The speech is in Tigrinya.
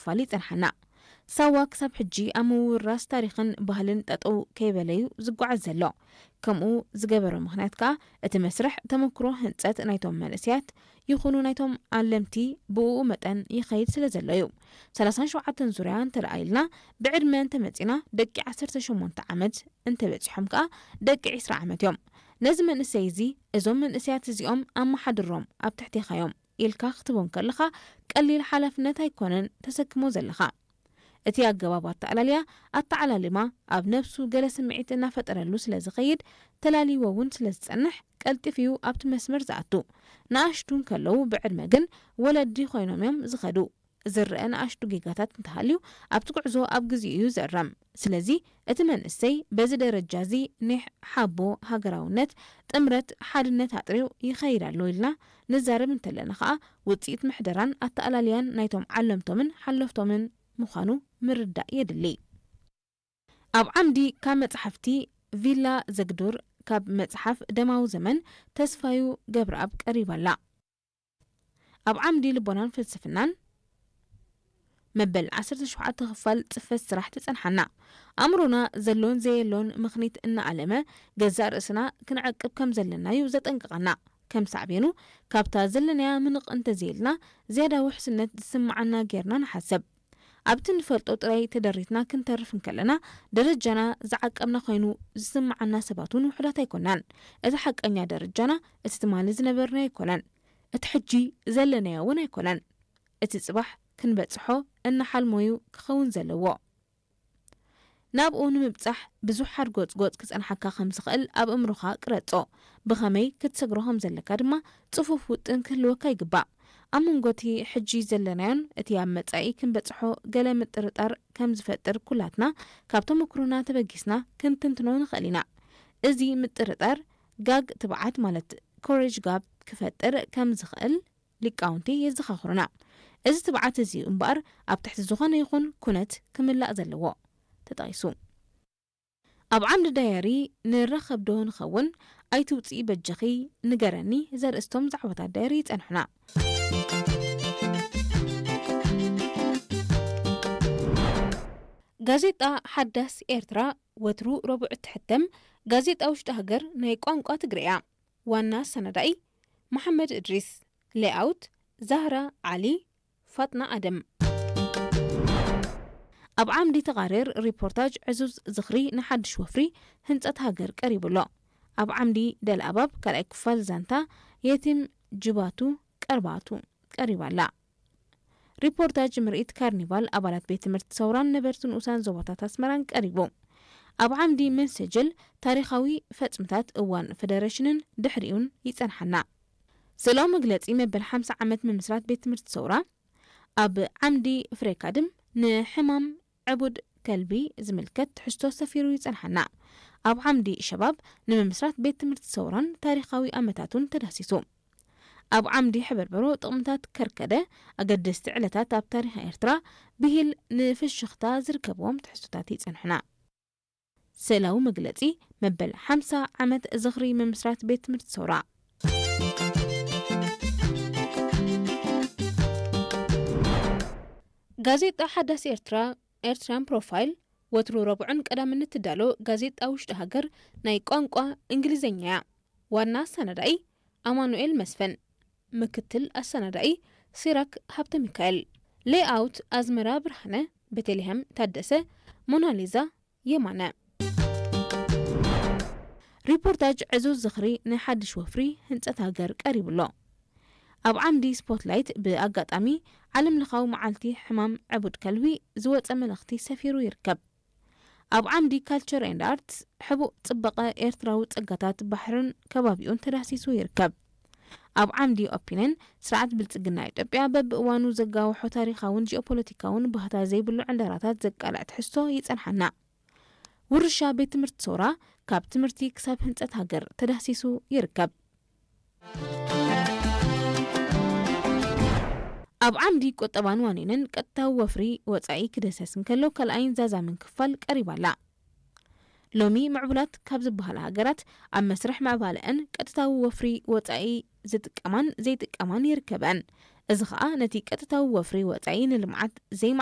ክፋል ይጸንሓና። ሳዋ ክሳብ ሕጂ ኣብ ምውራስ ታሪኽን ባህልን ጠጠው ከይበለዩ ዝጓዓዝ ዘሎ። ከምኡ ዝገበሮ ምኽንያት ከኣ እቲ መስርሕ ተመክሮ ህንጸት ናይቶም መንእሰያት ይኹኑ ናይቶም ኣለምቲ ብእኡ መጠን ይኸይድ ስለ ዘሎ እዩ። ሰላሳን ሸውዓተን ዙርያ እንተ ደኣ ኢልና ብዕድመ እንተ መጺና ደቂ ዓሰርተ ሸሞንተ ዓመት እንተ በጺሖም ከኣ ደቂ ዕስራ ዓመት እዮም። ነዚ መንእሰይ እዚ እዞም መንእሰያት እዚኦም ኣመሓድሮም ኣብ ትሕቴኻ እዮም ኢልካ ክትቦም ከለኻ ቀሊል ሓላፍነት ኣይኮነን ተሰክሞ ዘለኻ። እቲ ኣገባብ ኣተኣላልያ ኣተዓላልማ ኣብ ነብሱ ገለ ስምዒት እናፈጠረሉ ስለ ዝኸይድ ተላልይዎ እውን ስለ ዝጸንሕ ቀልጢፍ እዩ ኣብቲ መስመር ዝኣቱ። ንኣሽቱ እንከለዉ ብዕድመ ግን ወለዲ ኮይኖም እዮም ዝኸዱ። ዝረአ ንኣሽቱ ጌጋታት እንተሃልዩ ኣብቲ ጉዕዞ ኣብ ግዜኡ እዩ ዝእረም። ስለዚ እቲ መንእሰይ በዚ ደረጃ እዚ ኒሕ ሓቦ ሃገራውነት ጥምረት ሓድነት ኣጥርዩ ይኸይድ ኣሎ ኢልና ንዛረብ እንተለና ከኣ ውጽኢት ምሕደራን ኣተኣላልያን ናይቶም ዓለምቶምን ሓለፍቶምን ምዃኑ ምርዳእ የድሊ። ኣብ ዓምዲ ካብ መጽሓፍቲ ቪላ ዘግዱር ካብ መጽሓፍ ደማዊ ዘመን ተስፋዩ ገብረኣብ ቀሪባላ። ኣብ ዓምዲ ልቦናን ፍልስፍናን መበል ዓሰርተ ሸውዓተ ክፋል ጽፈት ስራሕ ትጸንሓና። ኣእምሮና ዘሎን ዘየሎን ምኽኒት እናኣለመ ገዛእ ርእስና ክንዕቅብ ከም ዘለናዩ ዘጠንቅቐና። ከም ሳዕቤኑ ካብታ ዘለናያ ምንቕ እንተዘይልና ዝያዳ ውሕስነት ዝስምዓና ጌርና ንሓሰብ። ኣብቲ ንፈልጦ ጥራይ ተደሪትና ክንተርፍ እንከለና ደረጃና ዝዓቀብና ኮይኑ ዝስምዓና ሰባት እውን ውሑዳት ኣይኮናን። እቲ ሓቀኛ ደረጃና እቲ ትማሊ ዝነበርናዮ ኣይኮነን። እቲ ሕጂ ዘለናዮ እውን ኣይኮነን። እቲ ጽባሕ ክንበጽሖ እናሓልሞዩ ክኸውን ዘለዎ። ናብኡ ንምብጻሕ ብዙሕ ሓርጎጽጎጽ ክጸንሓካ ከም ዝኽእል ኣብ እምሮኻ ቅረጾ። ብኸመይ ክትሰግሮ ከም ዘለካ ድማ ጽፉፍ ውጥን ክህልወካ ይግባእ። ኣብ መንጎ እቲ ሕጂ ዘለናዮን እቲ ኣብ መጻኢ ክንበጽሖ ገለ ምጥርጣር ከም ዝፈጥር ኩላትና ካብ ተመክሮና ተበጊስና ክንትንትኖ ንኽእል ኢና። እዚ ምጥርጣር ጋግ ትብዓት ማለት ኮሬጅ ጋፕ ክፈጥር ከም ዝኽእል ሊቃውንቲ የዘኻኽሩና። እዚ ትብዓት እዚ እዩ እምበኣር ኣብ ትሕቲ ዝኾነ ይኹን ኩነት ክምላእ ዘለዎ ተጠቒሱ። ኣብ ዓምዲ ዳየሪ ንራኸብ ዶ ንኸውን? ኣይትውፅኢ በጀኺ ንገረኒ ዘርእስቶም ዛዕባታት ዳየሪ ይጸንሑና። ጋዜጣ ሓዳስ ኤርትራ ወትሩ ረቡዕ እትሕተም ጋዜጣ ውሽጢ ሃገር ናይ ቋንቋ ትግርያ። ዋና ኣሰናዳኢ መሓመድ እድሪስ። ሌኣውት ዛህራ ዓሊ፣ ፋጥና ኣደም። ኣብ ዓምዲ ተቓርር ሪፖርታጅ ዕዙዝ ዝኽሪ ንሓድሽ ወፍሪ ህንጸት ሃገር ቀሪቡ ኣሎ። ኣብ ዓምዲ ደልኣባብ ካልኣይ ክፋል ዛንታ የቲም ጅባቱ ቀርባቱ ቀሪባ ኣላ። ሪፖርታጅ ምርኢት ካርኒቫል ኣባላት ቤት ትምህርቲ ሰውራን ነበርቲ ንኡሳን ዞባታት ኣስመራን ቀሪቡ። ኣብ ዓምዲ መንሰጅል ታሪኻዊ ፈጽምታት እዋን ፈደረሽንን ድሕሪኡን ይጸንሓና። ስእላዊ መግለጺ መበል ሓምሳ ዓመት ምምስራት ቤት ትምህርቲ ሰውራ። ኣብ ዓምዲ ፍሬካድም ንሕማም ዕቡድ ከልቢ ዝምልከት ትሕዝቶ ሰፊሩ ይጸንሓና። ኣብ ዓምዲ ሸባብ ንምምስራት ቤት ትምህርቲ ሰውራን ታሪኻዊ ኣመታቱን ተዳሲሱ። ኣብ ዓምዲ ሕበርበሮ ጥቕምታት ከርከደ ኣገደስቲ ዕለታት ኣብ ታሪኽ ኤርትራ ብሂል ንፍሽኽታ ዝርከብዎም ትሕዝቶታት ይጸንሑና። ስእላዊ መግለጺ መበል ሓምሳ ዓመት ዝኽሪ ምምስራት ቤት ትምህርቲ ሰውራ። ጋዜጣ ሓዳስ ኤርትራ ኤርትራን ፕሮፋይል ወትሩ ረቡዕን ቀዳምን እትዳሎ ጋዜጣ ውሽጢ ሃገር ናይ ቋንቋ እንግሊዝኛ እያ። ዋና ኣሰናዳኢ ኣማኑኤል መስፍን፣ ምክትል ኣሰናዳኢ ሲራክ ሃብተ ሚካኤል፣ ሌኣውት ኣዝመራ ብርሃነ፣ ቤተልሔም ታደሰ፣ ሞናሊዛ የማነ። ሪፖርታጅ ዕዙዝ ዝኽሪ ንሓድሽ ወፍሪ ህንጸት ሃገር ቀሪቡ ኣሎ። ኣብ ዓምዲ ስፖትላይት ብኣጋጣሚ ዓለም ለኻዊ መዓልቲ ሕማም ዕቡድ ከልቢ ዝወጸ መልእኽቲ ሰፊሩ ይርከብ። ኣብ ዓምዲ ካልቸር ኤንድ ኣርትስ ሕቡእ ጽባቐ ኤርትራዊ ጸጋታት ባሕርን ከባቢኡን ተዳህሲሱ ይርከብ። ኣብ ዓምዲ ኦፒንን ስርዓት ብልጽግና ኢትዮጵያ በብእዋኑ ዘጋውሖ ታሪኻውን ጂኦፖለቲካውን ባህታ ዘይብሉ ዕንደራታት ዘቃልዕ ትሕዝቶ ይጸንሓና። ውርሻ ቤት ትምህርቲ ሰውራ ካብ ትምህርቲ ክሳብ ህንጸት ሃገር ተዳህሲሱ ይርከብ። ኣብ ዓምዲ ቁጠባን ዋኒንን ቀጥታዊ ወፍሪ ወጻኢ ክደሰስ እንከሎ ካልኣይን ዛዛምን ክፋል ቀሪባ ኣላ። ሎሚ ምዕቡላት ካብ ዝበሃላ ሃገራት ኣብ መስርሕ ምዕባለአን ቀጥታዊ ወፍሪ ወጻኢ ዝጥቀማን ዘይጥቀማን ይርከበን። እዚ ኸኣ ነቲ ቀጥታዊ ወፍሪ ወጻኢ ንልምዓት ዘይመዓ